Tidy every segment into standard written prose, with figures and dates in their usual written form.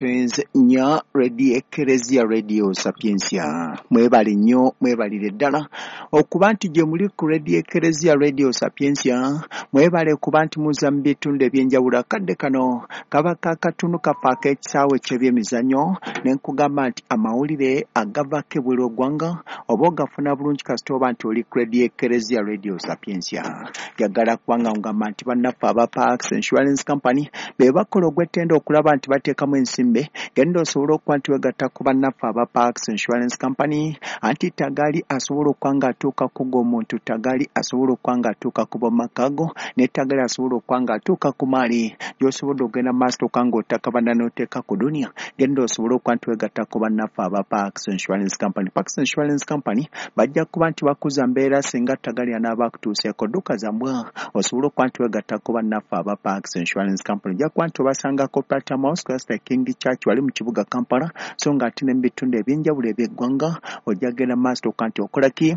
Nya Radio Ekereziya Radio Sapientia, mwebale nnyo, mwebalire ddala okuba nti gye muli ku Radio Ekereziya Radio Sapientia. Mwebale kuba nti muza mu bitundu ebyenjawulo. Akadde kano kaba kakatunu kaffe ak'ekisaawe ky'ebyemizannyo, ne nkugamba nti amawulire agavaako ebweru eggwanga oba ogafuna bulungi kasita oba nti oli ku Radio Ekereziya Radio Sapientia. Njagala kubanga ngamba nti bannaffe aba Parks Insurance Company be bakola ogw'ettendo okulaba nti bateekamu ensimbi. Genda osobola okuba nti wegatta ku bannaffe aba Parks Insurance Company, anti tagali asobola okuba nga atuuka ku g'omuntu, tagali asobola okuba nga atuuka ku b'omumaka go, ne tagali asobola okuba nga atuuka ku maali gy'osobodde okugenda mu maaso okuba ng'otakabana n'oteeka ku duniya. Genda osobole okuba nti wegatta ku bannaffe aba Parks Insurance Company. Parks Insurance Company bajja kuba nti bakuza mbeera singa tagali anaaba akutuuseeko. Dduka za mbwa osobola okuba nti wegatta ku bannaffe aba Parks Insurance Company. Ojja kuba nti obasangako Platinum House, Cluster King Church wali mu kibuga Kampala, so ng'ate ne mu bitundu ebyenjawulo eby'eggwanga ojja kugenda mu maaso okuba nti okola ki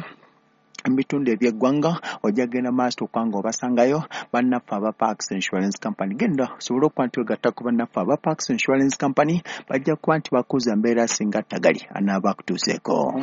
mu bitundu eby'eggwanga, ojja kugenda mu maaso okuba nga obasangayo bannaffe aba Parks Insurance Company. Genda osobole okuba nti wegatta ku bannaffe aba Parks Insurance Company, bajja kuba nti bakuza mbeera singa tagali anaaba akutuuseeko.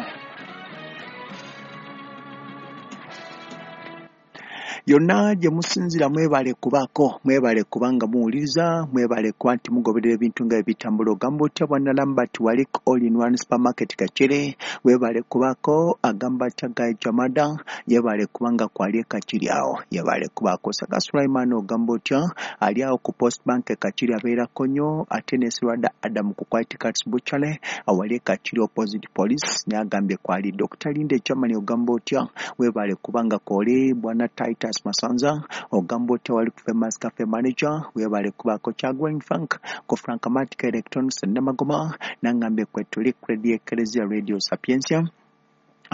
Yonna gye musinzira mwebale kubaako, mwebale kubanga muwuliriza, mwebale kuba nti mugoberera ebintu nga ebitambula. Ogamba otya bwana Lambert wali All in One Supermarket Kakire, webale kubaako. Agamba atya Guy Jamada, yebale kubanga kwali e Kakiri awo, yebale kubaako. Saga Sulaiman ogamba otya, ali awo ku Post Bank e Kakiri abeerako nnyo, ate ne Sirwada Adam ku White Cats Butchery awali e Kakiri opposite police, naye agambye kwali. Dr Linda Germany ogamba otya, webale kubanga kwoli. Bwana Titus Masanza ogamba otya wali ku Famous Cafe Manager, webale kubaako. Kyagwen Frank ku Frankamatic Electronics Namagoma nangambye kwetuli ku Radio Ekereziya Radio Sapientia.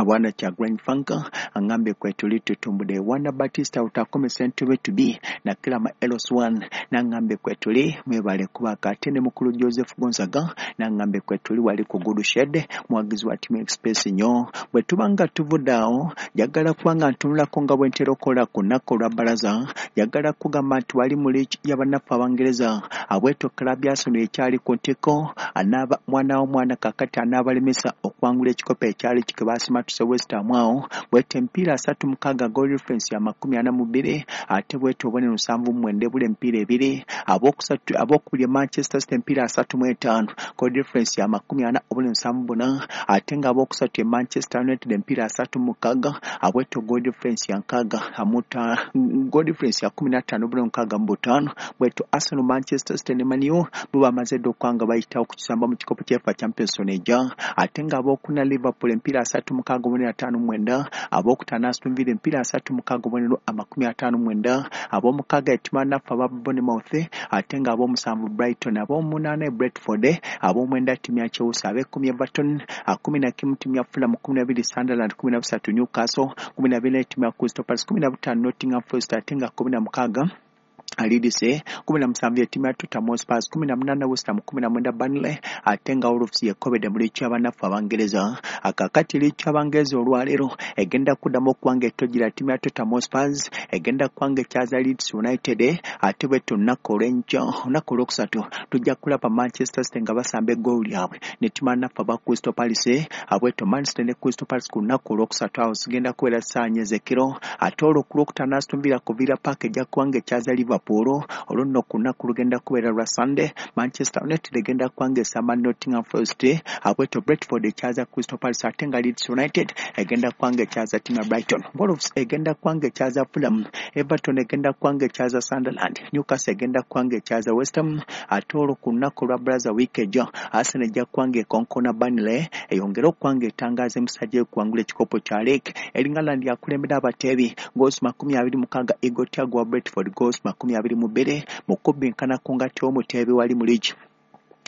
Bwana Kyagwen Frank angambye kwetuli tutumbudde. Wana Batista utakome sentube to be na Kilama Elos 1 nangambye kwetuli, mwebale kubaako. Ate ne mukulu Joseph Gonzaga nangambye kwetuli wali ku Good Shed, muwagizi wa Team Express nnyo. Bwe tuba nga tuvudde awo, njagala kuba nga ntunulako nga bwe ntera okukola ku nnaku olwa bbalaza. Njagala kugamba nti wali mu liigi y'abannaffe Abangereza, abweto club ya Arsenal ekyali ku ntikko, anaaba mwana w'omwana kakati anaabalemesa okuwangula ekikopo ekyali kike baasimatuse West Ham awo. Bwete emipiira 36, goal difference ya 42, ate bwete obubonero 79, ebula emipiira ebiri. Abookusatu, abookubiri e Manchester City emipiira 35, goal difference ya 40, obubonero 74, ate nga abookusatu e Manchester United emipiira 36, abweto goal difference ya 60 amuta, goal difference ya 15, obubonero 65. Bweto Arsenal, Manchester City ne Man U bo bamaze dda okuba nga bayitawo ku kisamba mu kikopo kya UEFA Champions League. Ate nga abookuna Liverpool emipiira 36, obubonero 59, abookutaano Aston Villa emipiira 36, obubonero 59, ab'omukaaga ettima naffe aba Bournemouth, ate nga ab'omusanvu Brighton, ab'omunaana e Brentford, ab'omwenda ttiimu ya Chelsea, ab'ekkumi Everton, 11 ttiimu ya Fulham, 12 Sunderland, 13 Newcastle, 14 ttiimu ya Crystal Palace, 15 Nottingham Forest, ate nga 16 Leeds, 17 ettiimu ya Tottenham Hotspur, 18 West Ham, 19 Burnley, ate nga Wolves yekobedde mu liigi y'abannaffe Abangereza. Akakati liigi y'Abangereza olwaleero egenda kuddamu okuba nga etojjera ttiimu ya Tottenham Hotspur, egenda kuba nga ekyaza Leeds United, ate bwetyo olunaku olw'enkya, olunaku olwokusatu, tujja kulaba Manchester City nga basamba eggoolo lyabwe ne ttiimu bannaffe aba Crystal Palace. Abweto Man City ne Crystal Palace ku lunaku olwokusatu awo zigenda kubeera ssaawa 4 ez'ekiro. Ate olwo ku lwokutaano Aston Villa ku Villa Park ejja kuba nga ekyaza Liverpool. Olwo nno ku lunaku lugenda kubeera lwa Sunday, Manchester United egenda kuba nga esamba Nottingham Forest, abweto Brentford ekyaza Crystal Palace, ate nga Leeds United egenda kuba nga ekyaza ttiimu ya Brighton. Wolves egenda kuba nga ekyaza Fulham, Everton egenda kuba nga ekyaza Sunderland, Newcastle egenda kuba nga ekyaza West Ham. Ate olwo ku lunaku olwa Braza week ejja, Arsenal ejja kuba nga ekonkona Burnley eyongere okuba nga etangaaza emisajja ekuwangula ekikopo kya league. Erling Haaland yakulembera abateebi goals 26, Igor Thiago wa Brentford goals 22, mu kubbinkana ku ngati omuteebi wali mu liigi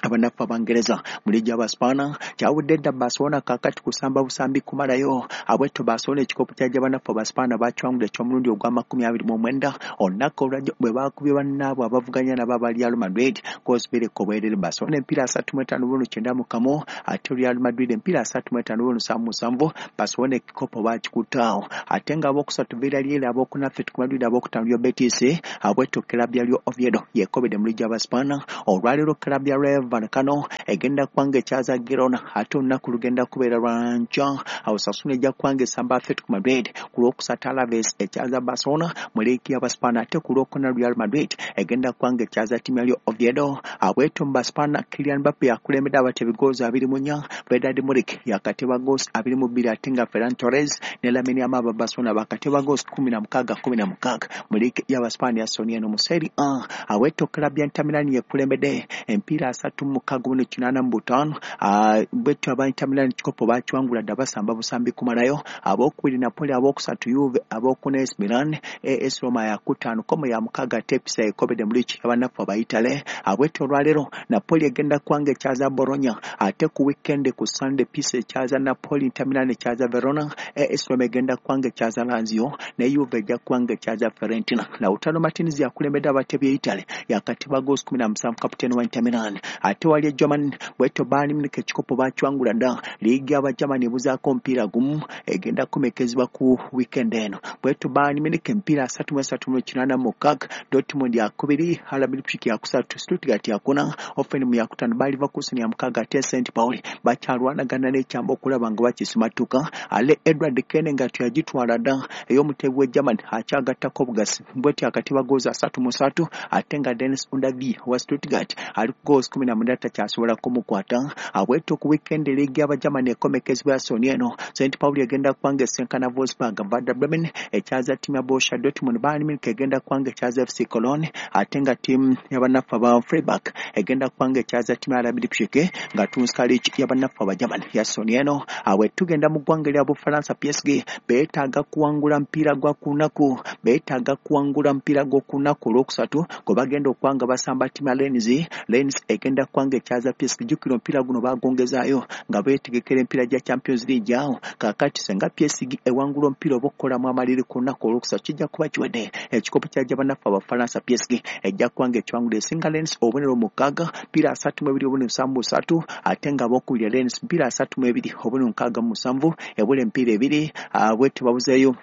abannaffe Abangereza. Mu liigi y'Abaspaana kyawudde dda, Barcelona kaakati kusamba busambi kumalayo. Abwetto Barcelona ekikopo kya gy'abannaffe Abaspaana bakiwangula eky'omulundi ogwa 29 olunaku olwajjo bwe baakubye bannaabwe abavuganya nabo aba Real Madrid goals 2 ku bwerere. Barcelona emipiira 35 bunu 91, ate Real Madrid emipiira 35 bunu 77. Barcelona ekikopo baakikuttaawo. Ate nga abookusatu Villarreal, abookuna Atletico Madrid, abookutaano Real Betis. Abwetto club ya Real Oviedo yekobedde mu liigi y'Abaspaana olwaleero. Club ya Rayo Vallecano egenda kubanga ekyaza Girona, ate olunaku lugenda kubeera lwa nkya. Osasuna ejja kubanga esamba Atletico Madrid. Ku lwokusatu Alaves ekyaza Barcelona mu liigi y'Abaspaana, ate ku lwokuna Real Madrid egenda kubanga ekyaza ttiimu ya Real Oviedo. Abweto mu Baspaana, Kylian Mbappe yakulembedde abatebi goals 24, Vedat Muriqi yakateba goals 22, ate nga Ferran Torres ne Lamine Yamal aba Barcelona bakateba goals 16 16 mu liigi y'Abaspaana ya Soni eno mu Serie A. Aweto club ya Inter Milan yekulembedde empiira 36.85. Bwetyo aba Inter Milan kikopo bakiwangula dda, basamba busambi kumalayo. Abookubiri Napoli, abookusatu Juve, abookuna AC Milan, AS Roma yakutaano, Como ya mukaaga, ate Pisa ekobedde mu liigi y'abannaffe Abayitale. Abwetyo olwaleero Napoli egenda kubanga ekyaza Bologna, ate ku weekend ku Sunday Pisa ekyaza Napoli, Inter Milan ekyaza Verona, AS Roma egenda kubanga ekyaza Lazio, ne Juve ejja kubanga ekyaza Fiorentina. Lautaro Martinez yakulembedde abatebi e Italy, yakateba goals 17, kapiteeni wa Inter Milan. Ate wali e Germany, bwetyo Bayern Munich ekikopo bakiwangula dda. Liigi y'Abagermany ebuzaako omupiira gumu, egenda kumekezebwa ku weekend eno. Bwetyo Bayern Munich emipiira 33.86, Dortmund yakubiri, RB Leipzig yakusatu, Stuttgart yakuna, Hoffenheim yakutaano, Bayer Leverkusen ya mukaaga, ate St Pauli bakyalwanagana n'ekyamba okulaba nga bakisimatuka. Ale Edward Kane nga teyagitwala dda ey'omutebi w'e Germany akyagattako obugasi, bwetyo akatiba goals 33, ate nga Dennis Undav wa Stuttgart ali ku goals 19, takyasobola kumukwata. Abwetyo ku weekend liigi y'Abagermany ekomekezebwa ya Soni eno, St Pauli egenda kubanga esenkana Wolfsburg, Werder Bremen ekyaza ttiimu ya Borussia Dortmund, Bayern Munich egenda kubanga ekyaza FC Cologne, ate nga ttiimu y'abannaffe aba Freiburg egenda kubanga ekyaza ttiimu ya RB Leipzig, nga tunsika liigi y'abannaffe Abagermany ya Soni eno. Awe tugenda mu ggwanga erya Bufalansa, PSG beetaaga kuwangula mpiira gwa kunaku, beetaaga kuwangula mpiira gw'okunaku olwokusatu gwe bagenda okuba nga basamba ttiimu ya Rennes. Rennes egenda kubanga ekyaza PSG. Jjukira omupiira guno bagongezaayo nga beetegekera empiira gya Champions League awo. Kaakati senga PSG ewangula omupiira oba okukolamu amaliri ku lunaku olwokusatu, kijja kuba kiwedde. Ekikopo kya bannaffe Abafalansa PSG ejja kuba nga ekiwangula, esinga Rennes obubonero 6, mpiira 32.73, ate nga abookubiri Rennes mpiira 32.67, ebula emipiira ebiri. Bwetyo babuzeeyo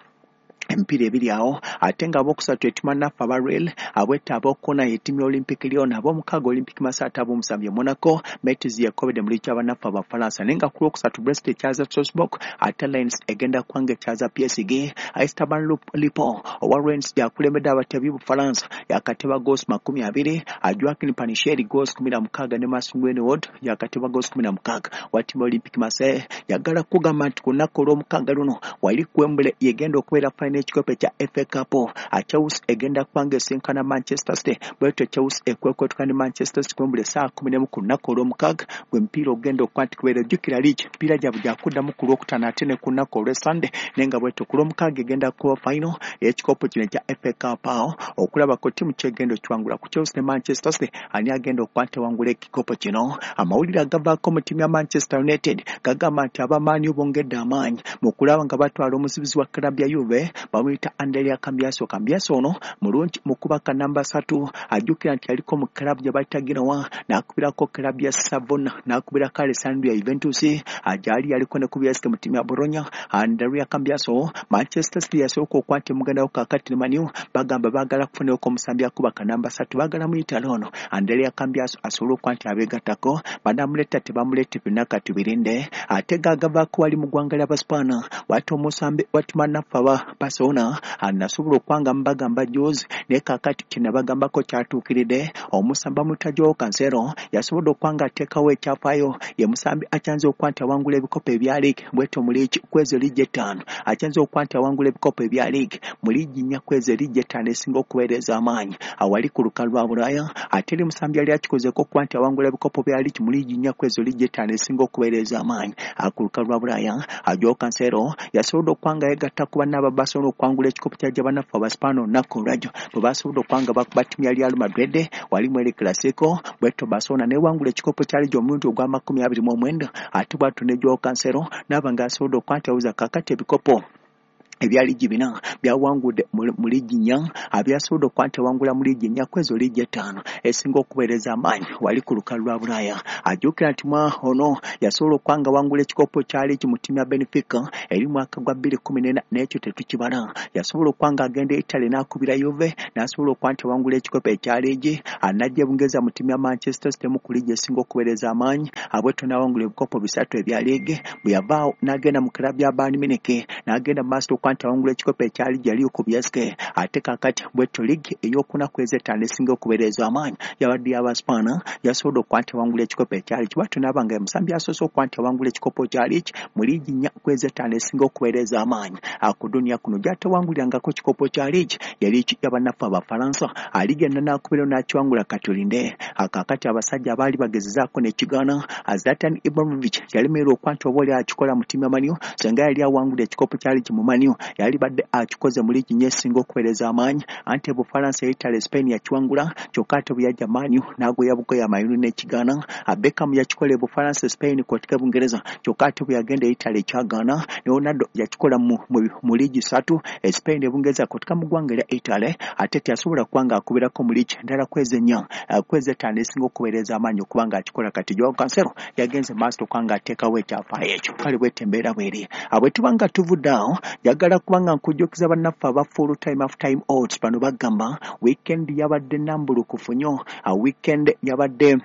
emipiira ebiri awo, ate nga abokusatu ettima naffe aba Real. Abwetta abookuna ettiimu ya Olympic Lyon, ab'omukaaga Olympic Marseille, ate ab'omusanvu ye Monaco. Metz yekobedde mu liigi y'abannaffe Abafalansa. Naye nga ku lwokusatu Brest ekyaza Strasbourg, ate Lens egenda kubanga ekyaza PSG. Esteban Lipo owa Rennes yakulembedde abatebi Bufalansa, yakateba goals 20, Joaquin Panisheri goals 16, ne Mason Greenwood yakateba goals 16 wa ttiimu Olympic Marseille. Yagala kugamba nti ku lunaku olw'omukaaga luno wali ku Wembley yegenda okubeera final ekikopo ekya FA Cup. Chelsea egenda kubanga esinkana Manchester City. Bwetyo Chelsea ekwekwetuka ne Manchester City Wembley essaawa 11 ku lunaku olw'omukaaga gwe mupiira ogenda okuba nti kubeera. Jjukira liigi mipiira gyabwe gyakuddamu ku lwokutaano ate ne ku lunaku olw'Esande, naye nga bwetyo ku lw'omukaaga egenda kuba final ey'ekikopo kino ekya FA Cup awo okulabako ttiimu kyegenda okiwangula ku Chelsea ne Manchester City, ani agenda okuba nti awangula ekikopo kino. Amawulire agavaako mu ttiimu ya Manchester United gagamba nti abamaanyi bongedde amaanyi mu kulaba nga batwala omuzibizi wa club ya Juve, bamuyita Andrea Cambiaso. Cambiaso ono mulungi mu kubaka namba 3. Ajjukira nti yaliko mu club gye bayita Genoa, n'akubirako club ya Savona, n'akubirako Alessandria, Juventus gyali yaliko ne ku BSK mu ttiimu ya Bologna. Andrea Cambiaso, Manchester City yasooka okuba nti mugendawo, kaakati ne Man U bagamba baagala kufunirako omusambi akubaka namba 3, baagala muyitale ono Andrea Cambiaso asobole okuba nti abeegattako. Banamuleeta tebamuleete, byonna kati birinde. Ate gaagavaako wali mu ggwanga ly'Abaspaana, wati omusambi watima naffe aba Barcelona nasobola okuba nga mubagamba juzi, naye kaakati kyenabagambako kyatuukiridde. Omusambi bamuyita Joao Cancelo yasobodde okuba nga ateekawo ekyafaayo, ye musambi akyanze okuba nti awangula ebikopo ebya liigi bwetyo mu liigi kwezo liigi 5, akyanze okuba nti awangula ebikopo ebya liigi mu liigi 4 kwezo liigi 5 esinga okuweereza amaanyi awali ku lukalu lwa Bulaaya. Ate eri musambi yali akikozeeko okuba nti awangula ebikopo bya liigi mu liigi 4 kwezo liigi 5 esinga okuweereza amaanyi ku lukalu lwa Bulaaya. Joao Cancelo yasobodde okuba nga yeegatta ku banna aba Barcelona okuwangula ekikopo kya bannaffe Abaspaana olunaku olwajjo bwe basobodde okuba nga bakuba ttiimu ya Real Madrid wali mu El Clasico. Bwetyo Barcelona newangula ekikopo kya liigi omulundi ogwa 29, ate bwatyo ne Joao Cancelo naaba nga asobodde okuba nti awuza kaakati ebikopo Ebya liigi 4 byawangudde mu liigi 4, byasobodde okuba nti awangula mu liigi 4 ku ezo liigi 5 esinga okuweereza amaanyi wali ku lukalu lwa Bulaaya. Ajjukira nti mwa ono yasobola okuba nga awangula ekikopo kya liigi mu ttiimu ya Benfica eri mwaka gwa 2014, n'ekyo tetukibala. Yasobola okuba nga agenda Italy n'akubira Juve n'asobola okuba nti awangula ekikopo ekya liigi, n'ajja e Bungereza mu ttiimu ya Manchester City mu ku liigi esinga okuweereza amaanyi, bwetyo n'awangula ebikopo 3 ebya liigi. Bwe yavaawo n'agenda mu club ya Bayern Munich n'agenda mu maaso okuba nti awangula ekikopo ekya liigi yali ku Bielski, ate kaakati bwetyo liigi ey'okuna ku ez'ettaano esinga okubeereza amaanyi yabadde y'Abaspaana, yasobodde okuba nti awangula ekikopo ekya liigi. Bw'atyo n'aba nga ye musambi asoose okuba nti awangula ekikopo kya liigi mu liigi 4 ku ez'ettaano esinga okubeereza amaanyi ku duniya kuno. Gy'atawangulirangako kikopo kya liigi ye liigi y'abannaffe Abafalansa, aligenda n'akubirayo n'akiwangula. Kati olinde kaakati abasajja abaali bagezezaako n'ekigaana, Zlatan Ibrahimovic yalemererwa okuba nti oba oli akikola mu ttiimu ya Man U, singa yali awangudde ekikopo kya liigi mu Man U yalibadde akikoze mu liigi 4 esinga okuweereza amaanyi, anti Bufalansa, Italy, Spain yakiwangula, kyokka ate bwe yajja Man U n'agoya bugoya amayunu n'ekigaana. Beckham yakikola e Bufalansa, Spain kw'oteeka Bungereza, kyokka ate bwe yagenda e Italy ekyagaana. Leonardo yakikola mu liigi 3, e Spain, e Bungereza kw'oteeka mu ggwanga erya Italy, ate teyasobola kuba ng'akubirako mu liigi endala ku ezo 4 ku ezo 5 esinga okuweereza amaanyi okuba ng'akikola. Kati Joao Cancelo yagenze maaso okuba ng'ateekawo ekyafaayo ekyo. Kale bwete embeera bw'eri. Bwe tuba nga tuvudde awo, njagala kuba nga nkujjukiza bannaffe aba full time half time odds. Bano bagamba weekend yabadde nambulukufu nnyo, weekend yabadde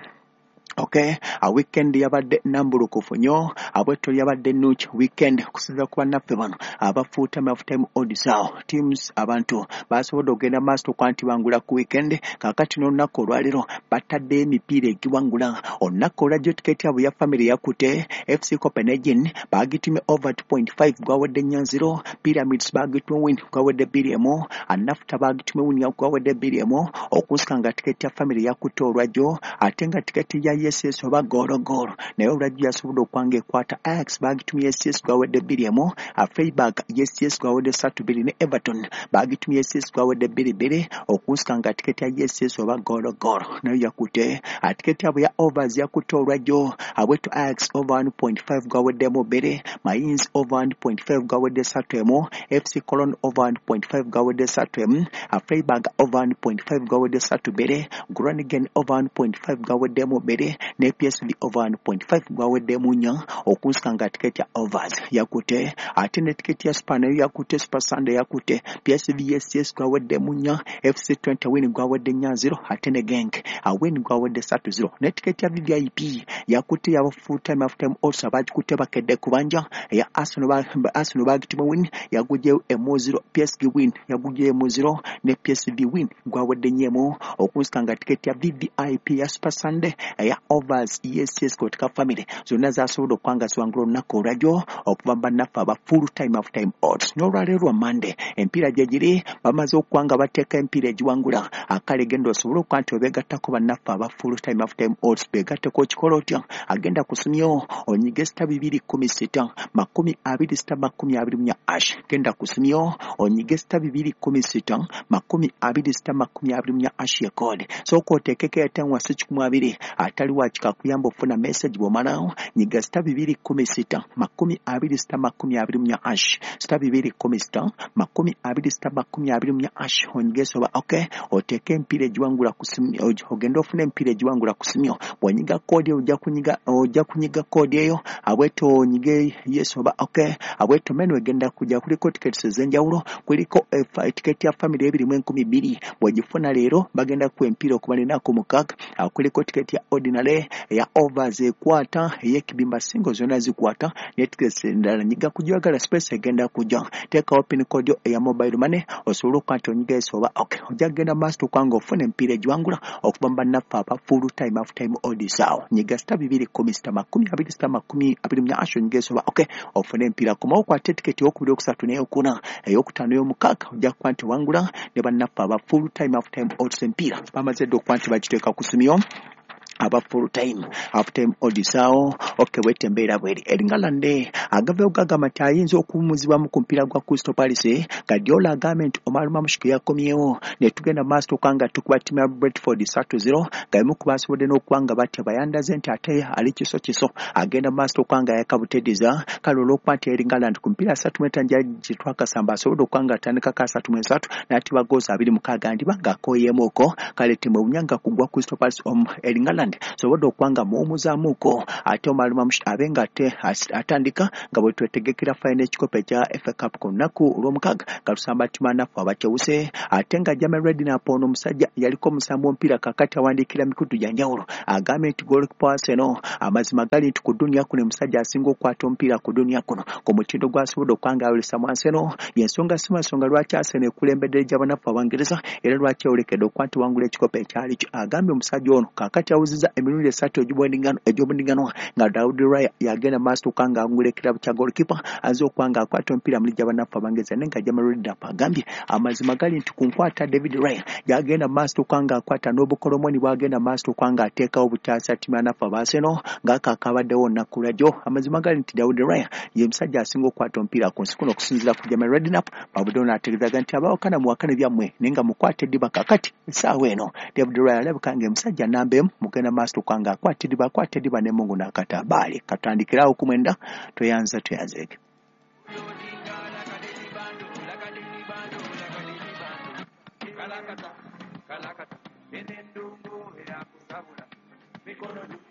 okay, weekend yabadde nambulukufu nnyo, bwetyo yabadde nnungi weekend okusinziira ku bannaffe bano aba full time half time odds. Awo teams abantu basobodde okugenda maaso okuba nti bangula ku weekend. Kaakati n'olunaku olwaleero bataddeyo emipiira egiwangula. Olunaku olwajjo tiketi yabwe ya family yakutte FC Copenhagen, bagitumye over 2.5, gwawedde 4-0. Pyramids bagitumye win, gwawedde 2-1. Nafta bagitumye win, gwawedde 2-1. Okusika nga tiketi ya family yakutte olwajjo, ate nga tiketi ya yes oba goal goal naye olwajjo yasobodde okuba nga ekwata. Ajax bagitumye yes, gwawedde 2-1. Freiburg yes, gwawedde 3-2, ne Everton bagitumye yes, gwawedde 2-2. Okusika nga tiketi ya yes oba goal goal nayo yakutte. Tiketi yabwe ya overs yakutte olwajjo abwetu Ajax over 1.5, gwaweddemu 2. Mainz over 1.5, gwawedde 3-1. FC Cologne over 1.5, gwawedde 3-1. Freiburg over 1.5, gwawedde 3-2. Groningen over 1.5, gwaweddemu 2, ne PSV over 1.5, gwaweddemu 4. Okusika nga tiketi ya overs yakutte, ate ne tiketi ya super nayo yakutte. Super Sunday yakutte PSV yes, gwaweddemu 4. FC 20 win, gwawedde 4-0, ate ne Genk win, gwawedde 3-0. Ne tiketi ya VVIP yakutte yaba full time half time odds, abagikutte bakedde kubanja eya Arsenal. Arsenal bagituma win, yagugyeyo 1-0. PSG win, yagugyeyo 1-0, ne PSV win, gwawedde 4-1. Okusika nga tiketi ya VVIP ya Super Sunday eya overs, yes kotika family zonna zasobodde okuba nga ziwangula olunaku olwajjo okuva mu bannaffe aba full time half time odds. N'olwaleero lwa Monday empiira gye giri, bamaze okuba nga bateeka emipiira egiwangula. Akale genda osobole okuba nti obeegattako bannaffe aba full time half time odds, beegatteko. Okikola otya? Agenda kusimyo onyige *216 20 *24#. Genda kusimyo onyige *216 20 *24# ye code. Sooka oteekeko airtime wasi 120, atali wakika kuyamba ofuna message. Bw'omalawo nyiga *216 20 *24#, *216 20 *24# onyige soba okay, oteeke emipiira egiwangula ku simu, ogende ofune emipiira egiwangula ku simu. Bw'onyiga code ojja kunyiga code eyo abweto onyige yes oba okay. Abweto menu egenda kujja, kuliko tickets ez'enjawulo. Kuliko tiketi ya family 2,000, bw'ogifuna leero bagenda kuwa emipiira okuba ennaku 6. Kuliko tiketi ya ordinary, eya overs ekwata, ey'ekibimba single zonna zikwata, ne tickets endala. Nyiga kugyagala, space egenda kujja. Teekawo pin code eya mobile money osobole okuba nti onyiga yes oba okay. Ojja kugenda maaso okuba nga ofuna emipiira egiwangula okuva mu bannaffe aba full time half time odds. Awo nyiga *216 20 *24# onyiga yes oba okay, ofune emipiira. Komawo okwate tiketi eyokubiri, okusatu, n'eyokuna, eyokutaano, ey'omukaaga, ojja kuba nti owangula ne bannaffe aba full time half time odds. Emipiira bamaze dda okuba nti bagiteeka ku simyo. Aba full time, half time odds awo. Okay, bwete embeera bweri. Erling Haaland agavayo gagamba nti ayinza okuwummuzibwamu ku mupiira gwa Crystal Palace. Guardiola agambye nti Omar Marmoush yakomyewo, ne tugenda maaso okuba nga tukuba ttiimu ya Brentford 3-0, nga emu ku basobodde n'okuba nga batya bayandaze nti ate ali kiso kiso agenda maaso okuba nga yakabutediza. Kale olw'okuba nti Erling Haaland ku mipiira 35 gye twakasamba asobodde okuba nga atandikako 33 n'atiba goals 26, ndiba ng'akooyeemuuko. Kale temwewunya nga kugwa Crystal Palace Erling Haaland sobodde okuba nga muwumuzaamuuko, ate Omar Marmoush abe nga ate atandika nga bwe twetegekera final ekikopo ekya FA Cup ku lunaku olw'omukaaga nga tusamba ttiimu naffe abakewuse. Ate nga Jamie Redknapp, ono omusajja yaliko omusambi w'omupiira, kakati awandiikira mikutu gya njawulo, agambye nti goalkeeper wa Arsenal, amazima gali nti ku duniya kuno omusajja asinga okukwata omupiira ku duniya kuno ku mutindo gw'asobodde okuba nga ayolesa mu Arsenal. Y'ensonga si nsonga lwaki Arsenal ekulembedde egy'abanafu Abangereza, era lwaki eyolekedde okuba nti wangula ekikopo ekyali kyo. Agambye omusajja ono kaakati awuzizza emirundi esatu egy'obudinganwa nga David Raya yagenda maaso okuba nga awangula ekirabo kya goalkeeper aze okuba nga akwata omupiira mu liigi y'abanafu Abangereza. Naye nga Jamie Redknapp agambye amazima gali nti ku nkwata David Raya yagenda maaso okuba nga akwata n'obukolomoni bw'agenda maaso okuba nga ateekawo butaasa ttiimu y'abanafu aba Arsenal ng'ako akabaddewo olunaku lwajjo. Amazima gali nti David Raya ye musajja asinga okukwata omupiira ku nsi kuno okusinziira ku Jamie Redknapp. Babuddewo n'ategeezaga nti abawakana muwakane byammwe, naye nga mukwate eddiba kakati essaawa eno David Raya alabika nga omusajja namba emu mugenda maaso okuba nga akwata eddiba, akwata eddiba ne Mungu n'akatabaale. Katandikirawo ku 9. Tweyanza, tweyanzeege. Kalakata, kalakata, enendungu erakusabula mikono.